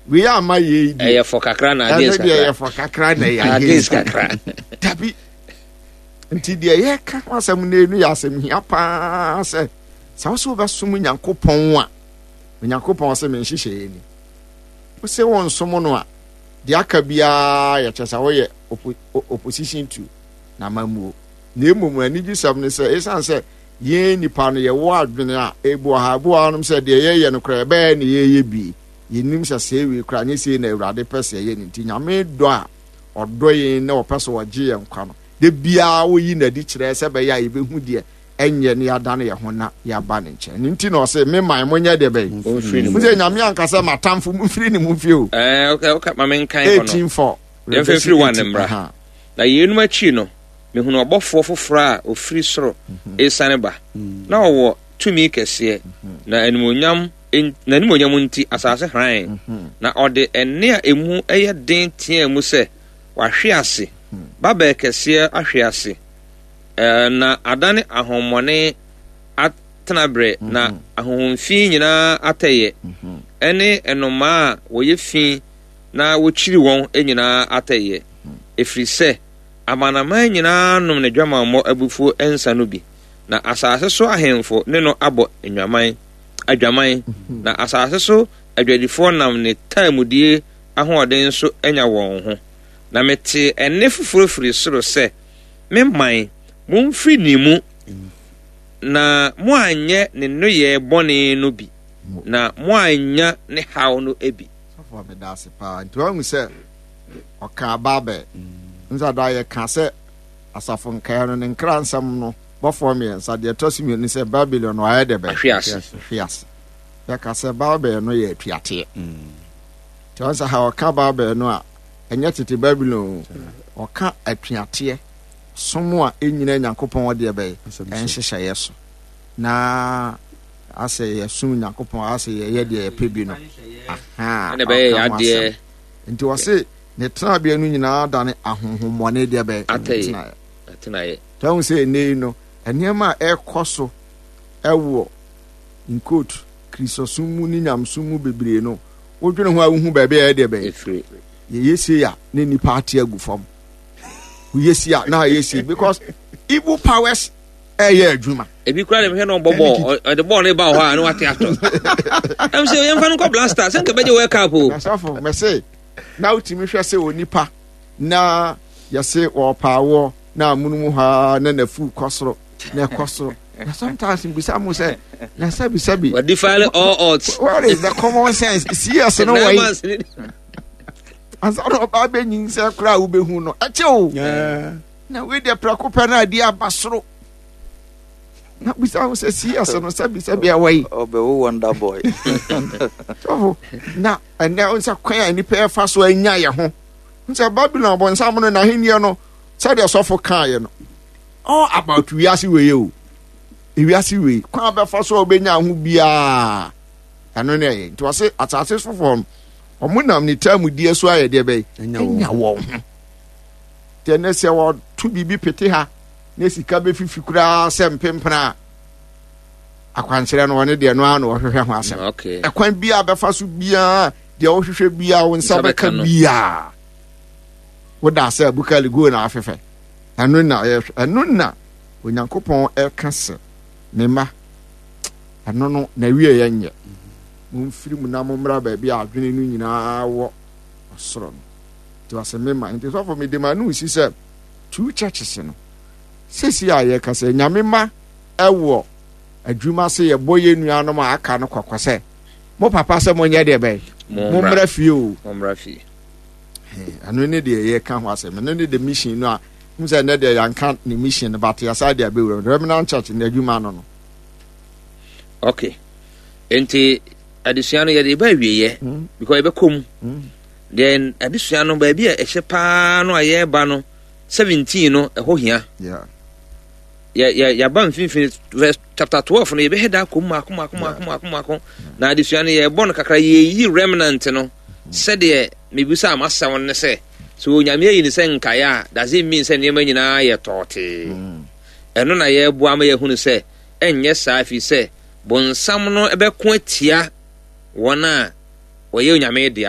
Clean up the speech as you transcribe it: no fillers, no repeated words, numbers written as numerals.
Wei ama yei deɛ. Ɛyɛ fɔ kakra na against kakra. Ɛno deɛ ɛyɛ fɔ kakra na ɛyɛ against kakra. Dabi. Nti deɛ yɛka ho asɛm no enu yɛ asɛm hia paa sɛ sɛ wo sɛ wobɛsom Onyankopɔn a, Onyankopɔn sɛ me nhyehyɛeɛ ni. Wo sɛ wonsom no a, deɛ aka biara yɛ kyɛ sɛ woyɛ opposition to n'amammuo. Na mmom anigyesɛm ne sɛ ɛsiane sɛ yɛn nnipa no yɛwɔ adwene a ebi wɔ ha, ebi wɔ hanom sɛ deɛ yɛyɛ no koraa ɛbɛyɛ na yɛyɛ bi. Yɛnnim sɛ sɛɛ wei koraa nyɛ sei na Awurade pɛ sɛ yɛyɛ no nti Nyame dɔ a ɔdɔ yɛn na ɔpɛ sɛ ɔgye yɛn nkwa no, da biara ɔyi n'adi kyerɛ sɛ ɛbɛyɛ a yɛbɛhu deɛ ɛnyɛ na yɛadane yɛn ho na yɛaba ne nkyɛn. Ɛno nti na ɔse, Me man, monyɛ deɛ bɛn? Momfiri ne mu. Mo sɛ Nyame anka sɛ m'atamfo momfiri ne mu mfie o. Ɛɛ, okay, okay, ma menkan hɔ no. 18 4. Yɛmfa mfiri 1 mmra. Na yeinom akyiri no, mehunuu ɔbɔfoɔ foforɔ a ɔfiri soro resiane ba, na ɔwɔ tumi kɛseɛ, na animuonyam n'animuonyam nti asase hrann, na ɔde ɛnne a emu yɛ den teɛɛ mu sɛ, Wahwe ase, Babel kɛseɛ ahwe ase, na adane ahonhommɔne atenaberɛ, na ahonhom fi nyinaa atɛeɛ, ɛne nnomaa a wɔyɛ fi na wɔkyiri wɔn nyinaa atɛeɛ, ɛfiri sɛ amanaman nyinaa nom n'adwamammɔ abufuo nsa no bi, na asase so ahemfo ne no abɔ nnwaman, adwaman, na asase so adwadifoɔ nam ne taamudie ahoɔden so anya wɔn ho. Na metee ɛnne foforɔ firi soro sɛ, Me man, momfiri ne mu, na moanyɛ ne nneyɛɛ bɔne no bi, na moannya ne haw no bi. Sɔfo meda ase paa. Nti wahu sɛ ɔkaa Babel. Nsa da yɛka sɛ asafo nkaeɛ no ne nkra nsɛm no bɔfoɔ mmiɛnsa deɛ ɛtɔ so mmienu sɛ Babylon no ayɛ dɛ bɛn? Ahwe ase. Ahwe ase. Yɛka sɛ Babel no yɛ atuateɛ. Nti wɔn sɛ ha ɔka Babel no a ɛnyɛ tete Babylon o. Ɔka atuateɛ som a ɛnyina Nyankopɔn deɛ bɛn ɛnhyehyɛeɛ so na asɛ yɛsom Nyankopɔn asɛ yɛyɛ deɛ yɛpɛ bi no. Aha, ɛna ɛbɛyɛ ɔka ho yadeɛ. asɛm. Nti ɔse ne tenabea no nyinaa dane ahonhommɔne deɛ bɛn Atɛeɛ. Atenaeɛ. Tɔn sɛ ɛnnɛ yi no, nneɛma a ɛrekɔ so wɔ in quote Kristosom mu ne nyamesom mu bebree no, wodwene ho a wohu baabi a ɛyɛ deɛ bɛn. Ɛfiri. Yɛyɛ sei a na nnipa ate agu fam. Woyɛ sei a na ayɛ sei because evil powers ɛyɛ adwuma. Ebi kura de mehwɛ na ɔbɔ bɔɔl, ɔde bɔɔl no ba wɔ hɔ a na wate atɔ. Ɛm sɛ yɛmfa no nkɔ Blaster, sɛ nka bɛgye World Cup o. Nasafo, mɛse na wotumi hwɛ sɛ onipa na yɛse wɔpaawoɔ na amono mu hɔ ara na n'afuw kɔ soro na ɛkɔ soro na sometimes mbisa mo sɛ na sɛbi sɛbi. Wɔ defy all odds. Where is the common sense? CS no wɔ yi. Ansa na ɔbaa bɛ nyinsɛn koraa a wobɛhu no ɛkyɛ o. Na wei deɛ prɛko pɛ na adeɛ aba soro. Na bisa ho sɛ CS no sɛbi sɛbi ɛwɔ yi. Ɔbɛwo wonder boy. Sɔfo na ɛnɛ sɛ kwan a nipa ɛfa so anya yɛ ho. Sɛ Babylon bɔnsam no n'ahenni no sɛdeɛ sɔfo kaeɛ no all about wiase wei o wiase wei kwan bɛfa so a wobɛnya ho biara ɛno ne ɛyɛ nti wɔse asase sofoɔ no wɔn nam ne taamudie so ayɛ deɛ bɛyɛ anya wɔn ho nti ɛnɛ sɛ wɔto biribi pete ha na sika bɛfifi koraa sɛ mpempena a akwankyerɛ no wɔne deɛ no ara na wɔhwehwɛ ho asɛm ɛkwan biara bɛfa so biara deɛ wɔhwehwɛ biara wo nsa bɛka biara Woda sɛ bukali go na afefɛ. Ɛno na yɛhwɛ. Ɛno na Onyankopɔn ɛka sɛ, me mma, ɛno no na wie yɛ nyɛ. Momfiri mu na mommra baabi a adwene no nyinaa wɔ ɔsoro no. Nti ɔsɛ me ma. Nti sɔfo mede ma no si sɛ two churches no. Sisi a yɛka sɛ Nyame ma ɛwɔ adwuma sɛ yɛbɔ yɛn nuanom a aka no kɔkɔ sɛ mo papa sɛ monyɛ deɛ bɛn mommra fie o. Mommra fie. Ɛno ne deɛ yɛka ho asɛm. Ɛno ne the mission no a n sɛ ɛnɛ deɛ yɛanka ne mission no but yɛasa de abɛwura mu. Remnant Church no adwuma no no. Okay. Nti adesua no yɛde ba awieɛ because yɛbɛkɔ mu. Then adesua no baabi a ɛhyɛ paa no a yɛreba no 17 no ɛhɔ hia. Yeah. Yɛ yɛ yɛaba mfimfini verse chapter 12 no yɛbɛhɛ da akɔ mu mako mako mako mako mako na adesua no yɛbɔ no kakra yɛyi remnant no. Sɛdeɛ mebisaa m'asɛm no ne sɛ, sɛ Onyame ayi no sɛ nkaeɛ a, does it mean sɛ nneɛma nyinaa yɛ tɔɔtee? Ɛno na yɛreboa ma yɛahunu sɛ ɛnyɛ saa, ɛfiri sɛ bonsam no bɛko atia wɔn a wɔyɛ Onyame dea.